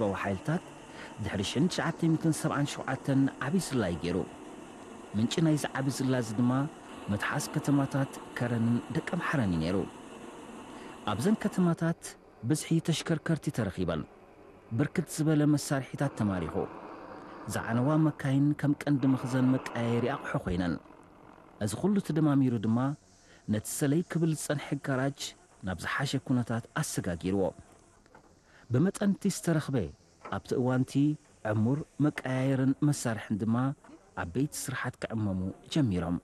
ህዝባዊ ሓይልታት ድሕሪ ሽሕን ትሽዓተ ሚእትን ሰብዓን ሸውዓተን ዓቢ ዝላ እዩ ገይሩ። ምንጪ ናይዚ ዓቢ ዝላ እዚ ድማ ምትሓዝ ከተማታት ከረንን ደቀ ምሓረን እዩ ነይሩ። ኣብዘን ከተማታት ብዝሒ ተሽከርከርቲ ተረኺበን፣ ብርክት ዝበለ መሳርሒታት ተማሪኹ። ዝዓነዋ መካይን ከም ቀንዲ መኽዘን መቀያየሪ ኣቕሑ ኮይነን። እዚ ኩሉ ተደማሚሩ ድማ ነቲ ሰለይ ክብል ዝጸንሐ ጋራጅ ናብ ዝሓሸ ኩነታት ኣሰጋጊርዎ። ብመጠን እቲ ዝተረኽበ ኣብቲ እዋንቲ ዕሙር መቀያየርን መሳርሕን ድማ ዓበይቲ ስራሓት ክዕመሙ ጀሚሮም።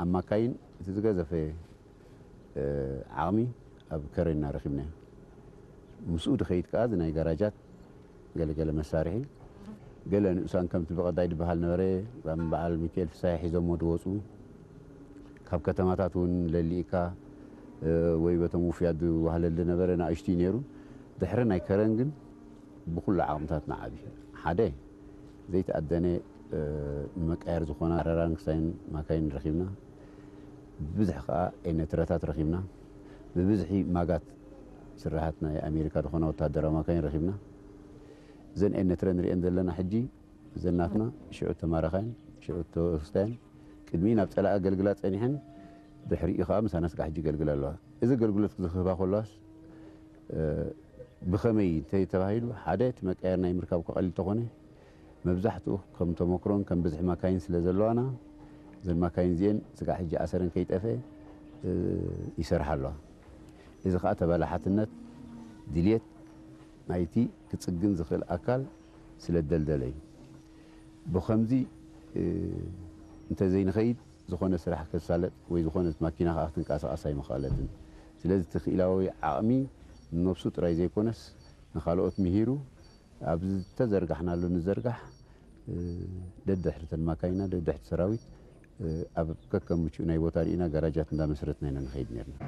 ኣብ ማካይን እቲ ዝገዘፈ ዓቕሚ ኣብ ከረንና ረኺብናዮ። ምስኡ ድኸይድ ከኣ ናይ ጋራጃት ገለገለ መሳርሒ ገለ ንኡሳን ከምቲ ብቐዳይ ዝበሃል ነበረ። በዓል ሚካኤል ፍሳይ ሒዞሞ ድወፁ ካብ ከተማታት እውን ለሊእካ ወይ በቶም ውፍያት ዝዋህለል ነበረ ንኣሽቱ ነይሩ። ድሕሪ ናይ ከረን ግን ብኩሉ ዓቕምታት ንዓቢ ሓደ ዘይተኣደነ ንመቃየር ዝኾና ረራን ክሳይን ማካይን ረኺብና። ብብዝሒ ከዓ ኤነትረታት ረኺብና። ብብዝሒ ማጋት ስራሓት ናይ ኣሜሪካ ዝኾና ወታደራዊ ማካይን ረኺብና። እዘን ኤነትረ ንሪኤን ዘለና ሕጂ እዘን ናትና ሽዑ ተማራኻይን ሽዑ ተወስታያን ቅድሚ ናብ ፀላኢ ኣገልግላ ፀኒሐን ድሕሪኡ ከዓ ምሳና ስጋዕ ሕጂ ይገልግላ ኣለዋ። እዚ ኣገልግሎት ዝህባ ከለዋስ ብኸመይ እንተተባሂሉ ሓደ እቲ መቀየር ናይ ምርካብ ከቐሊል ተኾነ መብዛሕትኡ ከም ተመክሮን ከም ብዝሒ ማካይን ስለ ዘለዋና እዘን ማካይን እዚኤን ስጋዕ ሕጂ ኣሰረን ከይጠፈ ይሰርሓ ኣለዋ። እዚ ከዓ ተባላሓትነት ድልየት ናይቲ ክፅግን ዝኽእል ኣካል ስለ ደልደለ እዩ። ብኸምዚ እንተዘይንኸይድ ዝኾነ ስራሕ ከሳለጥ ወይ ዝኾነት ማኪና ከዓ ክትንቀሳቐስ ኣይምኸኣለትን። ስለዚ እቲ ክኢላዊ ዓቕሚ ንነብሱ ጥራይ ዘይኮነስ ንኻልኦት ምሂሩ ኣብ ዝተዘርጋሕናሉ ንዘርጋሕ ደድሕርተን ማካይና ደድሕርቲ ሰራዊት ኣብ ከከም ምቹእ ናይ ቦታ ርኢና ጋራጃት እንዳመስረትና ኢና ንኸይድ ነርና።